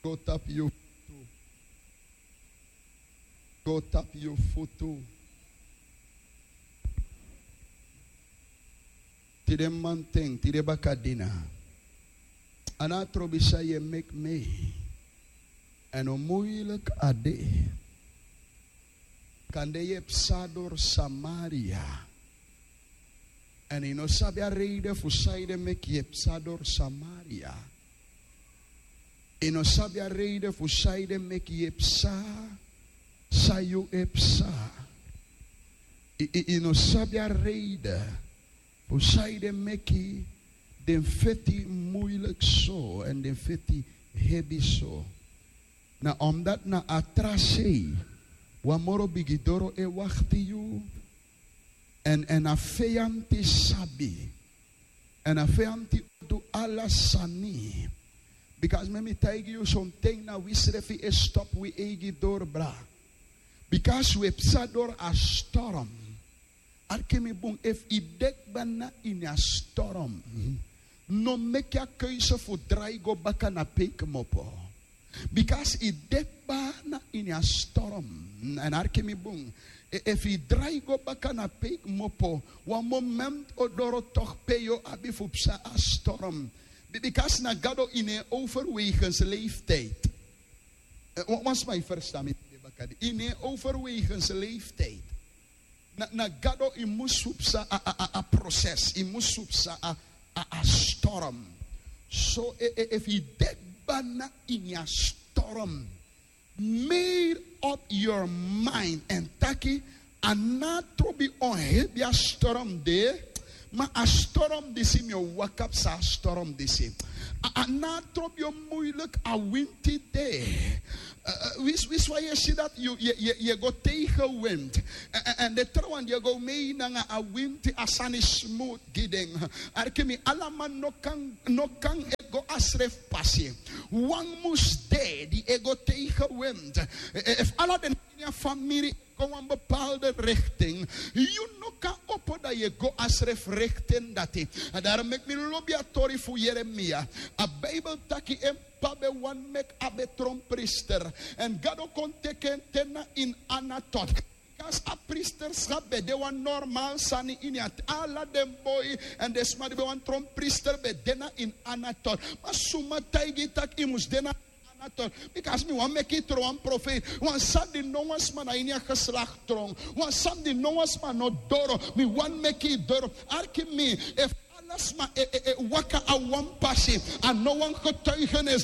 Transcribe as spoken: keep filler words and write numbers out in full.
Go tapu yu futu. Go tapu yu futu. Tide manten, tide bakadina. A no trobi san yu e meki mi. Èn a muiliki a de. Kande yu e psa doro Samaria. Èn yu no sabi a reide fu sanede meki yu e psa doro Samaria. Yu no sabi a reide fu sanede meki yu e psa san yu e psa. Yu, yu, yu no sabi a reide fu sanede meki den feti muiliki so èn den feti hebi so. Na omdati na a tra sei wan moro bigi doro e wakti yu. Èn, èn a feyanti sabi. Èn a feyanti o du ala sani. Bikasi mi e taigi yu, sonten na wisrefi e stopu wi eigi doro, bra. Bikasi wi e psa doro a storm. Arki mi bun, efu yu de kba na ini a storm, no meki a keuze fu drai go baka na pe yu kmopo. Bikasi yu de kba na ini a storm. Èn arki mi bun, e, efu yu drai go baka na pe yu kmopo, wan moment o doro toch pe yu o abi fu psa a storm. Bi-, bikasi na Gado ini en overwegens leeftijd. Eh, wan, wan sma e ferstan mi, ini en overwegens leeftijd. Na, na Gado yu mus fu psa a, a, a, a proces, yu mus fu psa a, a, a storm. So, e, e, efu yu de kba na ini a storm, make up your mind èn taki: a no trobi on hebi a storm de, ma a storm disi mi o waka psa a storm disi. A, a no trobi on muiliki a winti de. Eh, eh, wins, wins wan yu e si dati yu, yu, yu, yu e go tegen winti. Eh, eh, èn den trawan di e go mee nanga a winti, a sani smooth gi den. Arki mi, ala man no kan, no kan e go a srefi pasi. Wan mus de di e go tegen winti. Eh, eh, efu ala den ini a famiri e go wan bepaalde richting, yu no kan opo dan yu e go a srefi richting dati. A dati meki mi lobi a tori fu Yeremia. A Bijbel taki en p'pa ben wani meki a ben tron priester. Èn Gado kon teki en te na ini Anatot. Bikasi a priesterschap ben de wan normaal sani ini a t-, ala den boi èn den sma di ben wani tron priester ben de na ini Anatot. Ma suma taigi yu taki yu mus de na Anatot? Bikasi mi wani meki yu tron wan profeet. Wan sani di no wan sma na ini a geslacht tron. Wan sani di no wan sma no doro. Mi wani meki yu doro. Arki mi, efu ala sma e, e, e waka a wan pasi, a no wan getuigenis.